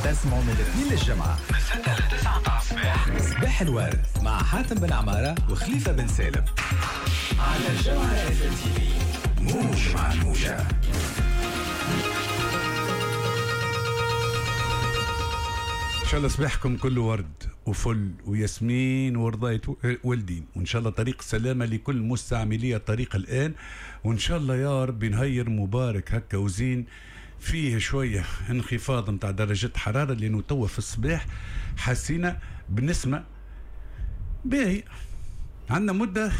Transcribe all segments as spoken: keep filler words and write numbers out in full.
تسمعوا من الاثنين للجمعة من ستة لتسعة متاع الصباح. صباح الورد مع حاتم بن عمارة وخليفة بن سالم على الجوهرة اف ام تي في، موج مع الموجة. إن شاء الله صباحكم كله ورد وفل وياسمين ورضاية والدين، وإن شاء الله طريق السلامة لكل مستعملي الطريق الآن، وإن شاء الله يا رب نهير مبارك هكا وزين فيه شوية انخفاض نتاع درجة حرارة، لأنه توا في الصباح حسينا بنسمة باهي، عندنا مدة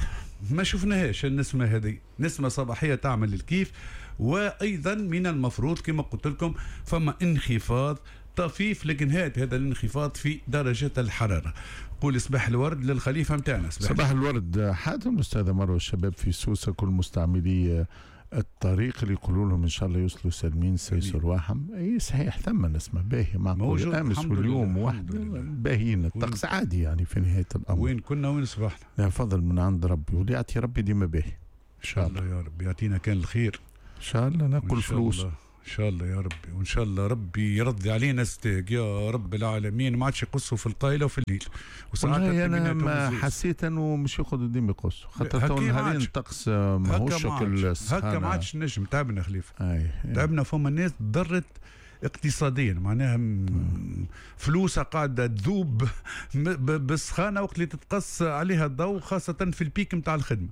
ما شفناهاش النسمة هذه، نسمة صباحية تعمل الكيف. وأيضا من المفروض كما قلت لكم فما انخفاض طفيف، لكن هات هذا الانخفاض في درجة الحرارة. قول صباح الورد للخليفة متاعنا. صباح, صباح الورد حاتم، أستاذ مروة، الشباب في سوسة، كل مستعملي الطريق اللي يقولوا لهم ان شاء الله يوصلوا سالمين سيسر واحم. اي صحيح ثم نسمه باهيه معقول امس واليوم واحد باهيين، الطقس عادي يعني في نهاية الامر. وين كنا وين صبحنا؟ لا فضل من عند ربي، واللي يعطي ربي ديما باهي ان شاء الله. يا رب يعطينا كان الخير ان شاء الله، ناكل فلوس ان شاء الله يا ربي، وان شاء الله ربي يرضي علينا ستاق يا رب العالمين، ما عادش يقصوا في القايله وفي الليل. وساعات انا ما حسيت انه مش ياخذوا ديما يقصوا، خاطر تو نهارين الطقس ماهوش شكل هكا، ما عادش نجم. تعبنا خليفة، تعبنا. فما ناس ضرت اقتصاديا، معناها فلوسها قاعدة تذوب بالسخانه وقت اللي تتقص عليها الضوء، خاصة في ال pic نتاع الخدمة.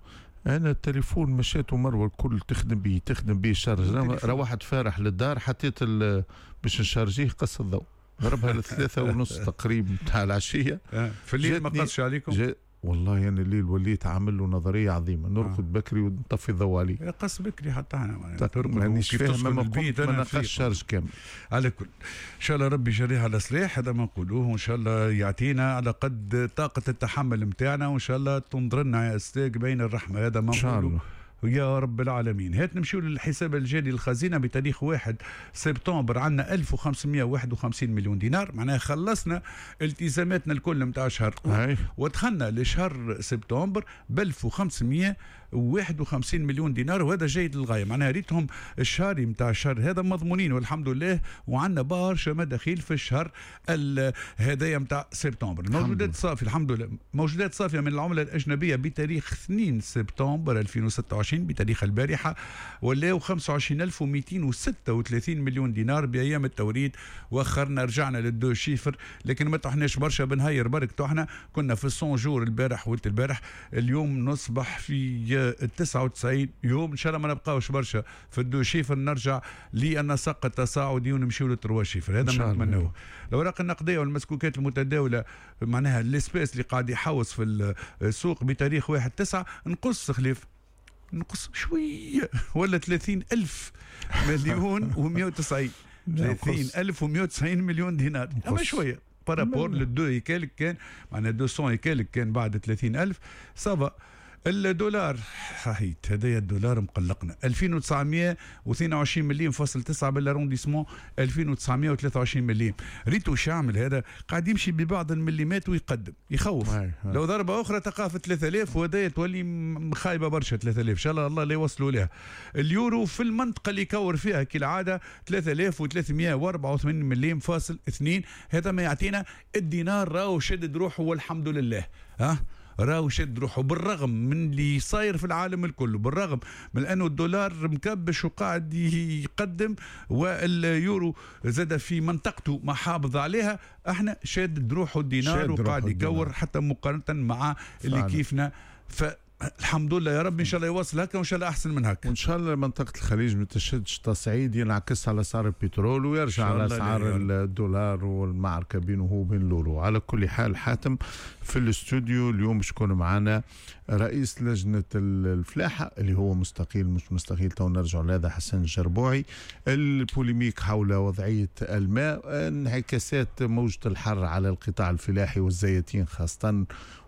انا التليفون مشيت ومروه الكل تخدم بيه تخدم بيه charge، روحت فارح للدار حطيت باش نشارجيه قص الضوء، ضربها لثلاثة ونص تقريبا تاع العشية. في الليل ما قصش عليكم؟ والله انا الليل وليت عامل له نظرية عظيمة، نرقد آه. بكري ونطفي الضوء عليه. قص بكري حتى انا مانيش فاهم، ما قمت ما نقاش charge كامل. على كل ان شاء الله ربي يجريها على صلاح، هذا ما نقولوه، وان شاء الله يعطينا على قد طاقة التحمل نتاعنا، وان شاء الله تنظر لنا يا استاذ بين الرحمة، هذا ما نقولوه يا رب العالمين. هات نمشيو للحساب الجاري للخزينة بتاريخ واحد سبتمبر، عندنا ألف وخمسمية وواحد وخمسين مليون دينار، معناها خلصنا التزاماتنا الكل نتاع شهر ودخلنا لشهر سبتمبر ب ألف وخمسمية وواحد وخمسين مليون دينار، وهذا جيد للغاية. معناها ريتهم الشهري نتاع الشهر هذا مضمونين والحمد لله، وعندنا برشا مداخيل في الشهر هذايا نتاع سبتمبر. الموجودات صافية الحمد لله، موجودات صافية من العملة الأجنبية بتاريخ اثنين سبتمبر ألفين وستة وعشرين بتاريخ البارحة ولاو خمسة وعشرين ألف ومئتين وستة وثلاثين مليون دينار بأيام التوريد، وأخرنا رجعنا لل deux chiffres، لكن ما طحناش برشا بنهير برك، طحنا كنا في ال cent jours البارح ولت البارح، اليوم نصبح في تسعة وتسعين يوم، إن شاء الله ما نبقاوش برشا في ال deux chiffres، نرجع للنسق التصاعدي ونمشيو لل trois chiffres، هذا ما نتمنوه. الأوراق النقدية والمسكوكات المتداولة معناها l'espèce اللي قاعد يحوص في السوق بتاريخ واحد تسعة نقص خليف نقص شوية ولا ثلاثين ألف مليون ومئة وتسعين ثلاثين ألف ومئة وتسعين مليون دينار، أما شوية par rapport لل deux et quelques كان معناها deux cents et quelques كان بعد ثلاثين ألف ça va. الدولار صحيت هذايا الدولار مقلقنا ألفين وتسعمية واثنين وعشرين مليم فاصل تسعة بال arrondissement ألفين وتسعمية وثلاثة وعشرين مليم. ريتو شعمل هذا قاعد يمشي ببعض المليمات ويقدم يخوف. هاي هاي. لو ضربة أخرى تقع في ثلاثة آلاف وهذايا تولي خايبة برشا ثلاثة آلاف، إن شاء الله الله لا يوصلوا لها. اليورو في المنطقة اللي يكور فيها كالعادة ثلاثة آلاف وثلاثمية وأربعة وثمانين مليم فاصل اثنين، هذا ما يعطينا الدينار راهو شدد روحه والحمد لله. ها راهو شد روحه بالرغم من اللي صاير في العالم الكل، بالرغم من انه الدولار مكبش وقاعد يقدم واليورو زاد في منطقته ما حافظ عليها، احنا شاد روحه الدينار وقاعد يكور حتى مقارنة مع اللي كيفنا. ف الحمد لله يا رب، ان شاء الله يواصل هكا وان شاء الله احسن من هكا، وان شاء الله منطقة الخليج ما تشدش تصعيد ينعكس على اسعار البترول ويرجع على اسعار الدولار والمعركة بينه وبين الاورو. على كل حال حاتم، في الاستوديو اليوم باش يكون معنا رئيس لجنة الفلاحة اللي هو مستقيل مش مستقيل تو نرجع لهذا، حسن الجربوعي، ال polémique حول وضعية الماء، انعكاسات موجه الحر على القطاع الفلاحي والزيتين خاصة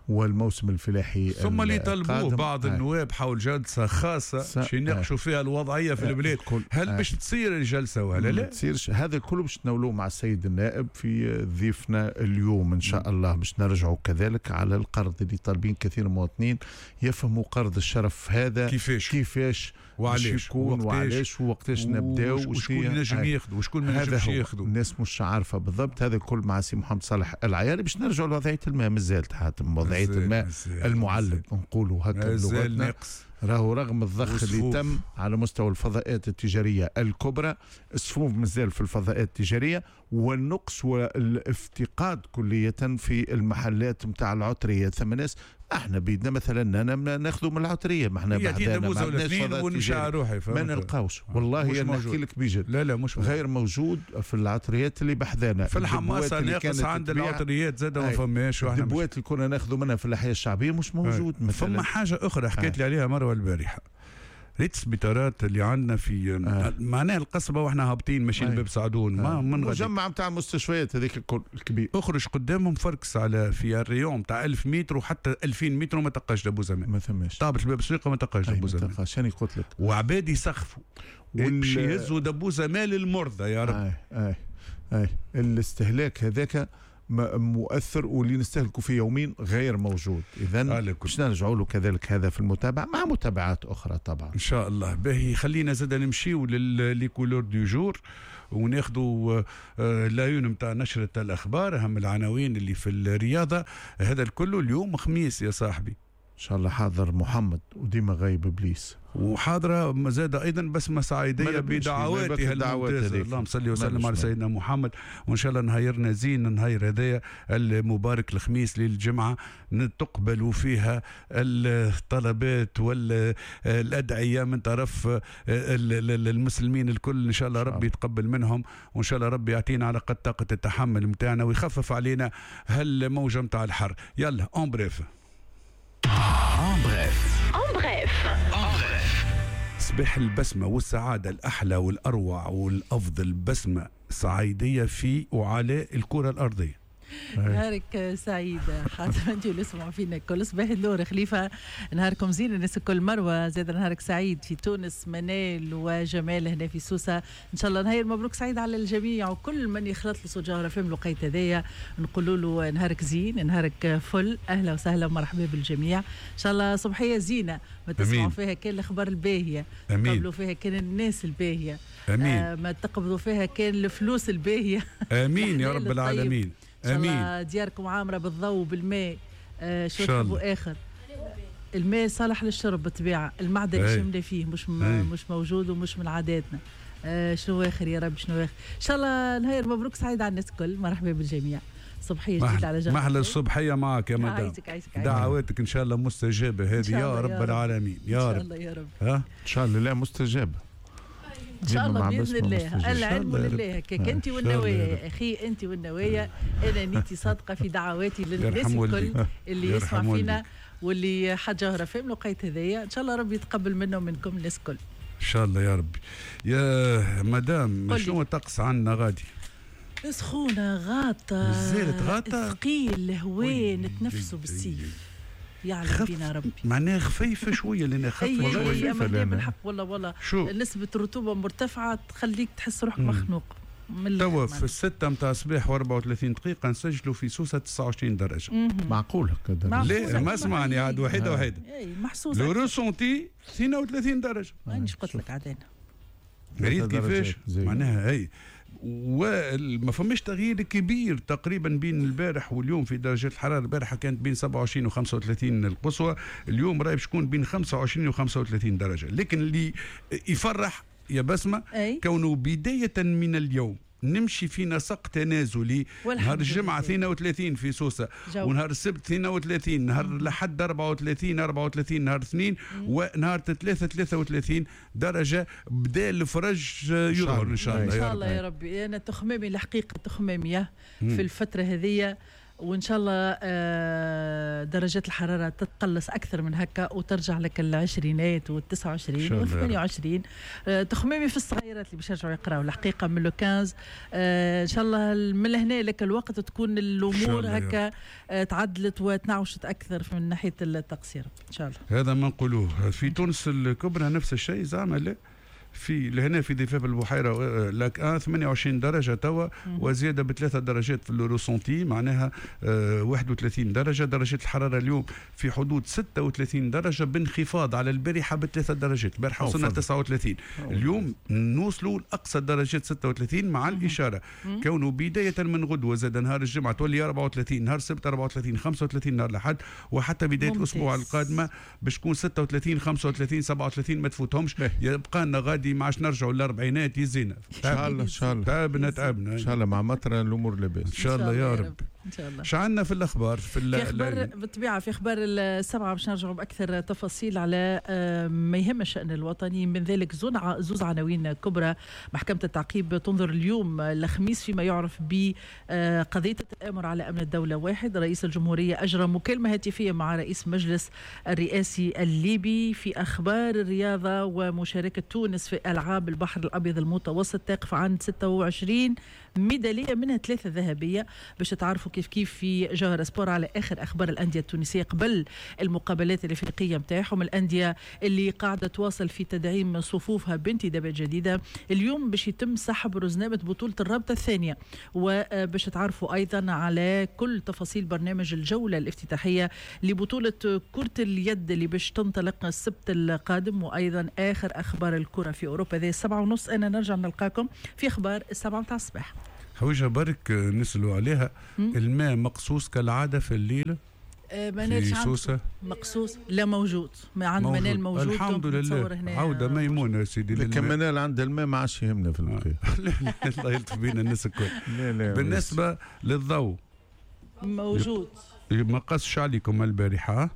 والموسم الفلاحي، ثم اللي طلبوه بعض النواب حول جلسه خاصة باش يناقشوا فيها الوضعية في البلاد، هل باش تصير الجلسة ولا لا؟ تصيرش، هذا كله باش تناولوه مع السيد النائب في ضيفنا اليوم ان شاء الله، باش نرجعوا كذلك على القرض اللي طالبين كثير من المواطنين يفهموا قرض الشرف هذا كيفاش كيفاش وعلاش يكون وعلاش ووقتاش نبداو وشكون ينجم ياخذ وشكون ما ينجمش ياخذ. الناس مش عارفه بالضبط. هذا الكل مع سي محمد صالح العياري باش نرجعوا لوضعيه الماء. مازالت حاتم وضعية الماء المعلب نقولوا هكا بلغتنا، راهو رغم الضخ اللي تم على مستوى الفضاءات التجارية الكبرى، الصفوف مازال في الفضاءات التجارية، والنقص والافتقاد كلية في المحلات نتاع العطرية. ثم ناس احنا بيدنا مثلا انا ناخذوا من العطريه، ما احنا بعدنا ما عندناش فضاءات روحي، ما نلقاوش. والله انا نحكي لك بجد، لا لا مش غير موجود في العطريات اللي بحذانا. في الحماصه ناقص عند العطريات زاد ما فماش. الدبوات اللي كنا ناخذوا منها في الاحياء الشعبية مش موجود مثلا. فما حاجة اخرى حكيت لي عليها مروه البارحة، ريت السبيطارات اللي عندنا في آه. معناها القصبة واحنا هابطين ماشيين باب سعدون آه. ما من مجمع نتاع المستشفيات هذيك الكل الكبير، اخرج قدامهم فركس على في ال rayon تاع ألف متر وحتى ألفين متر وما تلقاش دبوزه ماء. ما ثماش. طابت الباب السويقه ما تلقاش دبوزه ماء. عشان قلت لك وعباد يسخفوا باش يهزوا دبوزه ماء للمرضى يا رب. اي اي اي الاستهلاك هذاك مؤثر واللي نستهلكه في يومين غير موجود. اذا باش نرجعوا له كذلك هذا في المتابعة مع متابعات اخرى طبعا ان شاء الله. باهي خلينا زاد نمشيو les couleurs du jour وناخذوا la une نتاع نشره الاخبار، اهم العناوين اللي في الرياضة. هذا الكل اليوم خميس يا صاحبي ان شاء الله. حاضر محمد وديما غايب ابليس، وحاضره زاد ايضا بسمه سعيديه بدعواتها الممتازة. اللهم صل وسلم على سيدنا محمد، وان شاء الله نهايرنا زين النهار هذايا المبارك الخميس للجمعة تقبل فيها الطلبات والادعية من طرف المسلمين الكل. ان شاء الله ربي يتقبل منهم، وان شاء الله ربي يعطينا على قد طاقة التحمل نتاعنا ويخفف علينا هالموجه نتاع الحر. يلا en bref En bref. En bref. En bref. صباح البسمة والسعادة، الأحلى والأروع والأفضل بسمة سعيدية في وعلى الكرة الأرضية. نهارك سعيد حاتم، انت اللي سمعوا فينا كل صباح النور خليفة، نهاركم زين الناس الكل. مروه زاد نهارك سعيد في تونس، منال وجمال هنا في سوسة. ان شاء الله نهار مبروك سعيد على الجميع وكل من يخلط له صوت جوهرة فهم الوقيت هذايا نقولوا له نهارك زين، نهارك فل. اهلا وسهلا ومرحبا بالجميع. ان شاء الله صبحيه زينة ما تسمعوا فيها كان الاخبار الباهيه، تقبلوا فيها كان الناس الباهيه، امين، آه ما تقبضوا فيها كان الفلوس الباهيه، امين يا رب العالمين. امين. ان دياركم عامرة بالضوء وبالماء. آه شو تحبوا اخر؟ الماء صالح للشرب بالطبيعة، المعدن اللي شمنا فيه مش م... مش موجود ومش من عاداتنا. آه شنو اخر يا رب، شنو اخر؟ ان شاء الله نهار مبروك سعيد على الناس الكل. مرحبا بالجميع. صبحيه جديدة على جميع. محلى الصبحية معك يا مدام. عايزك عايزك. دعواتك ان شاء الله مستجابة هذه يا رب العالمين يا رب. ان شاء الله يا رب. ها؟ ان شاء الله لا مستجابة ان شاء الله باذن الله. العلم لله هكاك. انت والنوايا يا اخي، انت والنوايا. انا نيتي صادقة في دعواتي للناس الكل اللي يسمع فينا واللي حد جوهره فهم الوقيت هذايا. ان شاء الله ربي يتقبل منا ومنكم الناس الكل ان شاء الله يا ربي. يا مدام شنو الطقس عندنا غادي؟ سخونة غاطه، مازالت غاطه، ثقيل الهواء نتنفسوا بالسيف، يعلم بينا ربي. معناها خفيفة شوية لأن خفيفة شوية. اي بالحق والله والله شو؟ نسبه الرطوبة مرتفعة تخليك تحس روحك مخنوق. توا في الستة متاع الصباح وأربعة وثلاثين دقيقة نسجلوا في سوسة تسعة وعشرين درجة. معقول هكا؟ لا ما اسمعني عاد وحيدة وحيدة. اي محسوس. le ressenti اثنين وثلاثين درجة. مانيش قلت لك عاد انا. ريت كيفاش؟ معناها اي وما فماش تغيير كبير تقريبا بين البارح واليوم في درجات الحرارة. البارحة كانت بين سبعة وعشرين و خمسة وثلاثين القصوى، اليوم راهي باش تكون بين خمسة وعشرين و خمسة وثلاثين درجه. لكن اللي يفرح يا بسمه كونه بداية من اليوم نمشي في نسق تنازلي. نهار الجمعة اثنين وثلاثين في سوسة، ونهار السبت اثنين وثلاثين، نهار الأحد أربعة وثلاثين، أربعة وثلاثين نهار اثنين، ونهار ثلاثة ثلاثة وثلاثين درجة. بدا الفرج يظهر إن شاء الله. إن شاء الله يا ربي. أنا تخمامي الحقيقة تخمامي في الفترة هذه، وإن شاء الله درجات الحرارة تتقلص أكثر من هكا وترجع لك العشرينات والتسعة وعشرين والثمانية وعشرين. تخمامي في الصغيرات اللي باش يرجعوا يقراوا الحقيقة من le quinze. إن شاء الله من هنا لك الوقت تكون الأمور هكا تعدلت وتنعوشت أكثر من ناحية التقصير إن شاء الله. هذا ما نقولوه في تونس الكبرى نفس الشيء زعما. لا في لهنا في ضفاف البحيرة Lac واحد ثمانية وعشرين درجه توا، وزيادة بثلاثة درجات في ال ressenti، معناها واحد وثلاثين درجه. درجه الحرارة اليوم في حدود ستة وثلاثين درجه، بانخفاض على البارحة بثلاثة درجات. البارحة وصلنا تسعة وثلاثين، اليوم نوصلوا لاقصى درجات ستة وثلاثين مع الاشارة كونه بداية من غدوه زاد نهار الجمعة تولي أربعة وثلاثين، نهار السبت أربعة وثلاثين، خمسة وثلاثين نهار الاحد، وحتى بداية الاسبوع القادمة باش تكون ستة وثلاثين، خمسة وثلاثين، سبعة وثلاثين، ما تفوتهمش. يبقى لنا غادي ما عادش نرجعوا للاربعينات يزينا. ان شاء الله ان شاء الله تعبنا تعبنا ان شاء الله مع مطر الامور لاباس ان شاء الله يا رب. ان شاء الله. شو عندنا في الاخبار؟ في, في اخبار بالطبيعة في اخبار السبعة باش نرجعوا باكثر تفاصيل على ما يهم الشان الوطني، من ذلك زوز عناوين كبرى. محكمة التعقيب تنظر اليوم الخميس فيما يعرف بقضيه التآمر على امن الدولة واحد. رئيس الجمهورية اجرى مكالمة هاتفيه مع رئيس مجلس الرئاسي الليبي. في اخبار الرياضة ومشاركة تونس في العاب البحر الابيض المتوسط تقف عند ستة وعشرين ميدالية منها ثلاثة ذهبية. باش تعرفوا كيف كيف في جوهرة سبور على اخر اخبار الاندية التونسية قبل المقابلات الافريقية نتاعهم، الاندية اللي قاعدة تواصل في تدعيم صفوفها بانتدابات جديدة. اليوم باش يتم سحب رزنامه بطوله الرابطة الثانية، وباش تعرفوا ايضا على كل تفاصيل برنامج الجولة الافتتاحيه لبطولة كره اليد اللي باش تنطلق السبت القادم، وايضا اخر اخبار الكره في اوروبا. ذي السبعة ونص انا نرجع نلقاكم في اخبار السبعة متاع الصباح. حويجة برك نسألوا عليها، الماء مقصوص كالعادة في الليل في سوسة؟ مقصوص لا موجود، ما عند منال موجود الحمد لله. عودة ميمونة يا سيدي. لكن منال عند الماء ما عادش يهمنا في البقية. الله يلطف بينا الناس الكل. بالنسبة للضوء موجود، ما قصش عليكم البارحة؟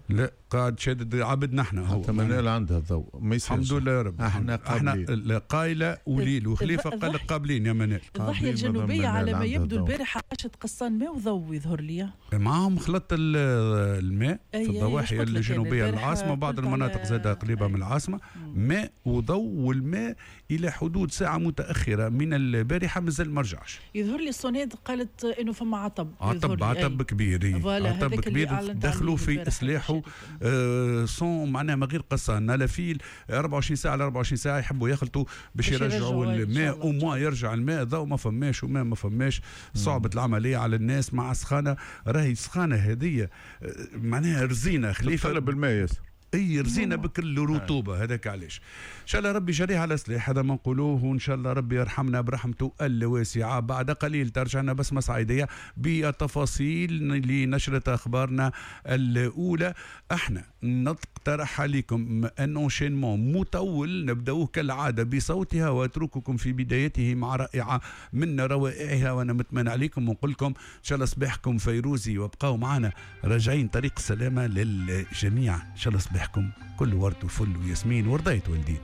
لا قاعد شادد عبد نحن هو حتى منال عندها الضوء ما يصيرش. الحمد لله يا رب. احنا احنا قايله وليل وخليفة قال قابلين يا منال. الضاحية الجنوبية على ما يبدو البارحة عاشت قصان ماء وضوء يظهر لي معاهم، خلط الماء في الضواحي الجنوبية العاصمة وبعض المناطق زادة قريبه من العاصمة، ماء وضوء، والماء الى حدود ساعة متاخرة من البارحة مازال ما رجعش. يظهر لي الصوناد قالت انه فما عطب، عطب عطب كبير، عطب كبير دخلوا في اسلاحه آه صون معناها من غير قصان لا فيل أربعة وعشرين ساعة على أربعة وعشرين ساعة يحبوا يخلطوا باش يرجعوا الماء، وما يرجع الماء ضوء ما فماش وما ما فماش. صعبة العملية على الناس مع سخانه، راهي سخانه هذه معناها رزينه خليفة تطلب الماء ياسر، اي رزينه بكل رطوبة. هذاك علاش ان شاء الله ربي جريها على سلاح، هذا ما نقولوه، وان شاء الله ربي يرحمنا برحمته الواسعة. بعد قليل ترجعنا بسمه سعيديه بالتفاصيل لنشره اخبارنا الاولى. احنا نقترح عليكم un enchaînement مطول نبداوه كالعادة بصوتها واترككم في بدايته مع رائعة من روائعها، وانا متمنى عليكم ونقول لكم ان شاء الله صباحكم فيروزي، وابقاو معنا راجعين طريق السلامة للجميع. ان شاء الله صباحكم كل ورد وفل وياسمين ورضاية والدين.